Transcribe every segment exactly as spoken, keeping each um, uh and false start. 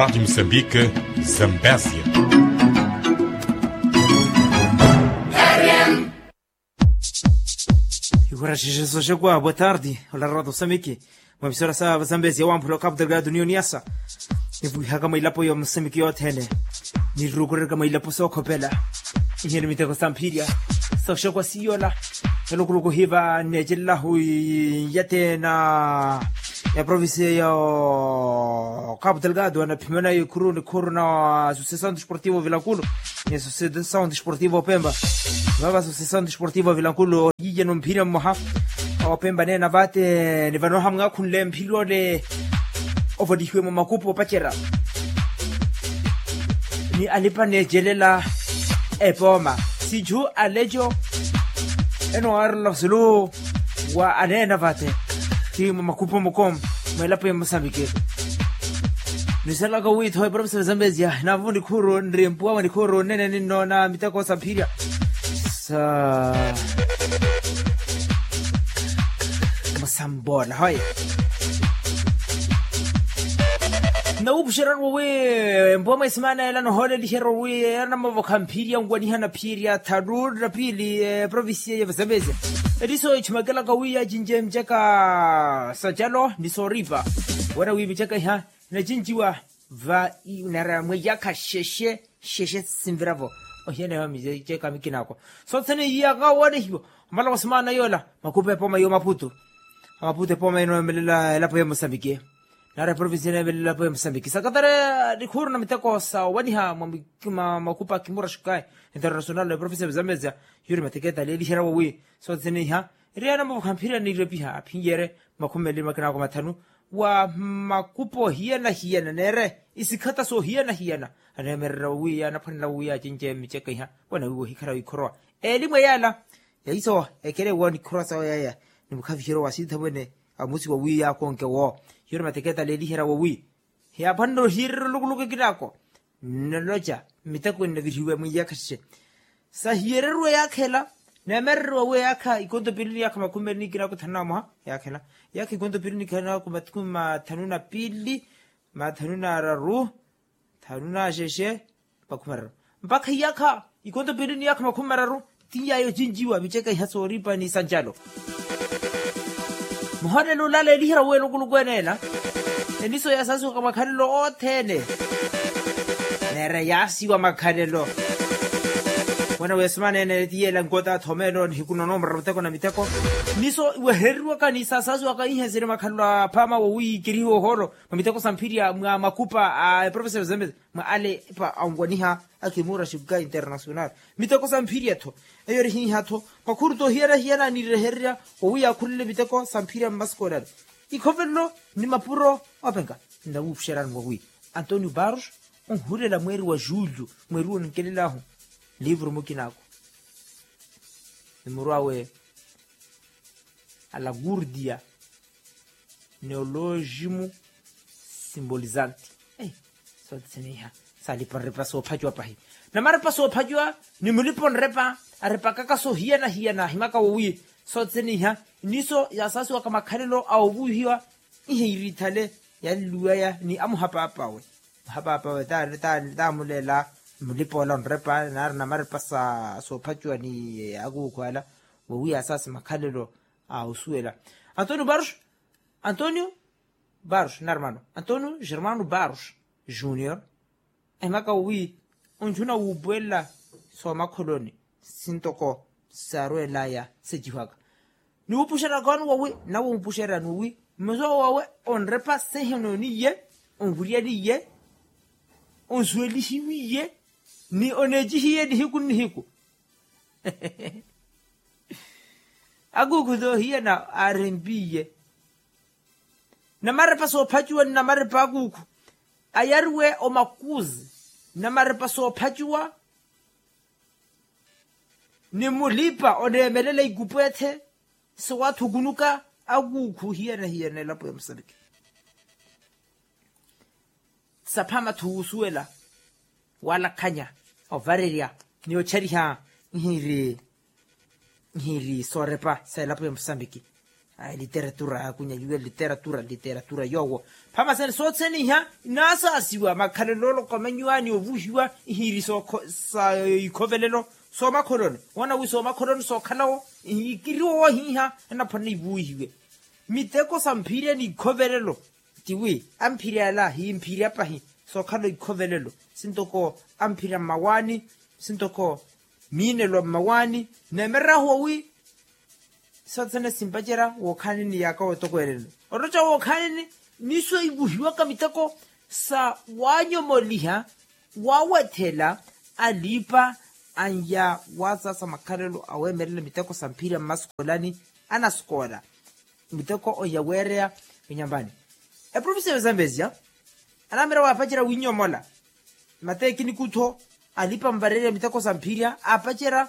Rádio Moçambique, Zambésia. Iwaraxexe soxekwa boa tarde. Olarwa tosamiki mwa emisora sa vazambezi ya wamphula okapu delgado ni oniasa. Nivwihaka mwa ilapo ya mosamiki yothene. Nirukurerka mwa ilapo sookhopela. Iheni miteko samphirya soxekwa siyola. Elukuluku hiva neecelela hu yatena ya provincia ya okapu delgado anaphimana ikhuru ni khuru na associação desportivo vilankulu ni associação desportivo pemba. Vava associação desportivo vilankulu yiye numphirya mmoha opemba neena vate ni vanoha mwakhunle mphirya ole ovolihiwe mwa makupu opacerya ni alipa neecelela epooma. Sichu aleco eno arla sulu wa aneena vate ti mwa makupu mukom mwa elapo ya mosambike. Nisalaka witho eprovinsi ya zambezia navu nikhuru nri mpuwa wa nikhuru nene ninnoona miteko samphirya sa musambona hoye. Nawupuxerya wi mpuwa mwa esimana ela nohooleliherya wi ela namavokha mphirya nwanihana phirya tharu na piili eprovinsiya ya vazambezia. Etiso echumakelaka wi yacince micaka sa calo ni sooripa wena wi micaka iha nacinciwa va inara mwa iyakha xexe xexe sinviravo. Ohiyaneha micaka mikinako sothene iyaka woonehiwa omala wa simana yola makupa epoma yo maputu. Amaputu epoma ino emelela elapo ya mosambiki nara eprovinsi ino emelela elapo ya mosambiki sakatare nikhuru na miteko sa owaniha mwa makupa kimura xukayi international na eprovinsi ya mozambezia. Yuri mateketa aleeliherya wowi sothene iha eri anamuvukha mphirya niirepiha aphinyeerye makhumi meli makinako mathanu wa makupo hiyana hiyana neere isikhata soohiyana hiyana aneemererya wowiya anaphwanela wowiya acince miceka iha wanawiwa ohikhala wikhorowa elimu eyala yaiso ekele woonikhorowa sawe yaya ni mukhaviheryo wa sitha mwene amusi wowiya akonke wo. Yuri mateketa aleeliherya wowi hiyaaphwanela ohiyeererya olukuluku ekinako nnaloca mmitekweni navirihiwe mwiiyakha xexe sahiyereriwa eyaakha ela. Neemereriwa wi eyaakha ikonto pili ni yaakha makhumi meli ni ikina kuthanu na moha eyaakha ela eyaakha ikonto pili ni ikina kumathanu na pili mathanu na araru thanu na xexe makhumi araru mpakha iyaakha ikonto pili ni yaakha makhumi araru ti yaayo cinjiwa miceka iha sooripa ni sancalo. Muhonelo olala eliherya wi elukuluku ene ela eniso yaasasiwaka makhalelo othene neera yaasiwa makhalelo. Wena wesimana ene tiyeela nkota athomelo nihiku nonomorera miteko na miteko niso iwehereriwaka ni saasasiwaka ihenseri makhalelo aphama wowi kirihiwa ohoolo mwa miteko sa mphirya mwa makupa a eprofesa ya zambezi mwa alepa anwaniha akimura xikuka internasional miteko sa mphirya-tho eyo eri hiiha-tho makhuru toohiyana-hiyana niirehererya owiya akhulele miteko sa mphirya mmasikoolani ikhovelelo ni mapuro openka. Nnawuupuxerani mwawi antonio barros onhulela mweeri wa julio mweeri wonikelela-hu livru mukina-ako ni muru awe alagurdia neolojimu simbolizanti. Sotsiniha salipa nrepa soophacuwa pahi namarepa soophacuwa ni mulipa onrepa arepakaka sohiyana-hiyana ahimaka wowi sotsiniha niso yasaasiwaka makhalelo a ovuhiwa iheirithale yalluwaya ni amuhapaapaawe muhapaapaawe tamuleela mulipa ola onrepa nari namarepa soophacuwa ni akuukhu ala wowi yasaasi makhalelo a osuwela antonio barros antonio barros narmano antonio germano barros junior ahimaka wowi onjuna wuupuwelela soomakholoni sintoko saarwelaya sejihwaka niwuupuxeraka wani wowi nawe wuupuxerani wowi mmeso wawe onrepa sehenooniye onvuryaniye onsuwelihiwiye ni oneecihiye nihiku nnihiku akuukhu toohiyana aarempiye namarepa soophacuwa ni namarepa akuukhu ayariwe omakuzi namarepa soophacuwa ni mulipa oneemelela ikupwethe sowaathukunuka akuukhu hiyana-hiyana elapo ya musambiki saphama-tho wuusuwela walakhanya ovarerya ni ochariha nhiiri nhiiri soorepa sa elapo ya musambiki Literatura yakunya yuwe literatura literatura yoowo. Phamasene soothene iha inaasaasiwa makhalelo olokomenyiwa ni ovuhiwa ihiiri sa ikhovelelo soomakholono. Woona wi soomakholono sookhalawo ikiriwo wohiiha anaphwanela ivuwihiwe miteko sa mphirya ni ikhovelelo. Tiwi amphirya ala himphirya pahi sookhala ikhovelelo sintoko amphirya mmawaani sintoko miinelo mmawaani. Neemerahuwa wi sothene simpacerya wookhanini yaaka wotokweelelo oroca wookhanini. Niso ivuhiwaka miteko sa waanyomoliha waawethela aliipa anya waasaasa makhalelo aweemelela miteko sa mphirya mmaskoolani. Anaskoola miteko onya weereya inyambani. Eprovincia ya zambezia anaamira waapacerya winyomola mateekiniki utho alipa mvareerya miteko sa mphirya aapacerya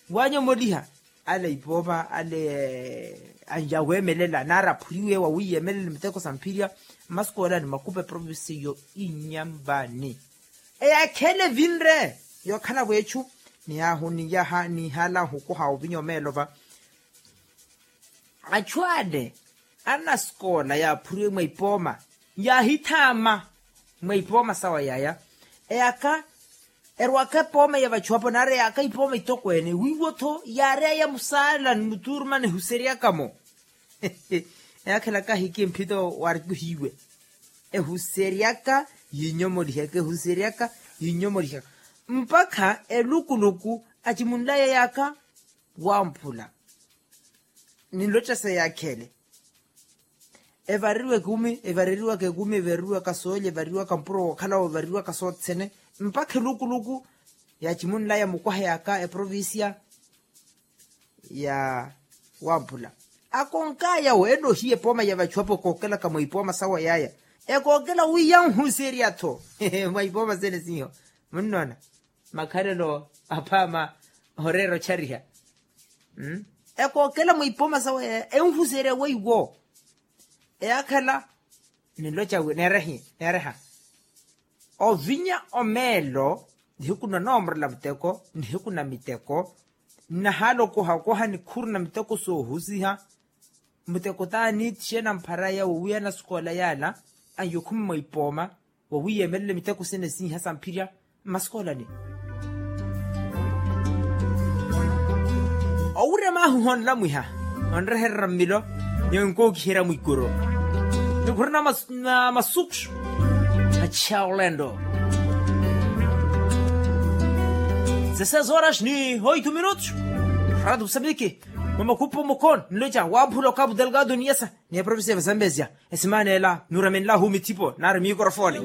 waanyomoliha ale ipooma ale anja weemelela nari aphuriwe wawiiyemelela miteko sa mphirya. Mmaskoolani makupa eprovincia iyo inyambani eyakhele vinre yookhala vweechu niyaahu niyaha niihala nhukuha ovinya omeelova. Achu ale anasikoola yaaphuriwe mwa ipooma yaahithaama mwa ipooma sawa yaya eyaka erwaka epooma ya vachuwapo nari eyaka ipooma itokweene wiiwo-tho yaareya musaala ni mutuuruma nihuseryaka-mo. Eyakhelaka ahiki mphito warikuhiwe ehuseryaka yinyomolihaka ehuseryaka yinyomolihaka mpakha elukuluku acimunlaya yaka wamphula. Ninlotta sa yakhele evareriwaka ekumi evareriwaka ekumi evareriwaka soolya evareriwaka mpuro wookhalawo evareriwaka sothene mpakha elukuluku yacimunlaya mukwaha yaka eprovincia ya wamphula akonkaya wo enohiya epooma ya vachuwapo ekookelaka mwa ipooma sawa yaya ekookela wi yanhuserya-tho mwa ipooma sene siiho. Munnoona makhalelo aphaama oreera ochariha ekookela mwa ipooma sawe enhuserya weiwo. Eyakhala ninloca wi neereha ovinya omeelo nihiku na noomorela muteko nihiku na miteko nnahaala okoha okoha nikhuru na miteko soohusiha. Muteko t'aniitixena mpharaya wowiya nasikoola yaala anyokhumi mwa ipooma wowiya emelele miteko sene siiha samphirya mmasikoola ni owurya maahu honlamwiha onreherera mmilo ni onkookiherya mwikuru. Nikhuri na masuku achiha olendo. Dezesseis horas ni oito minutos. Rado musambiki mwa makupu mukon nloca wamphula okapu delgado niyesa ni eprovincia ya vasambesia. Esimaana ela nuramenlahu mithipo nari mikorofoni.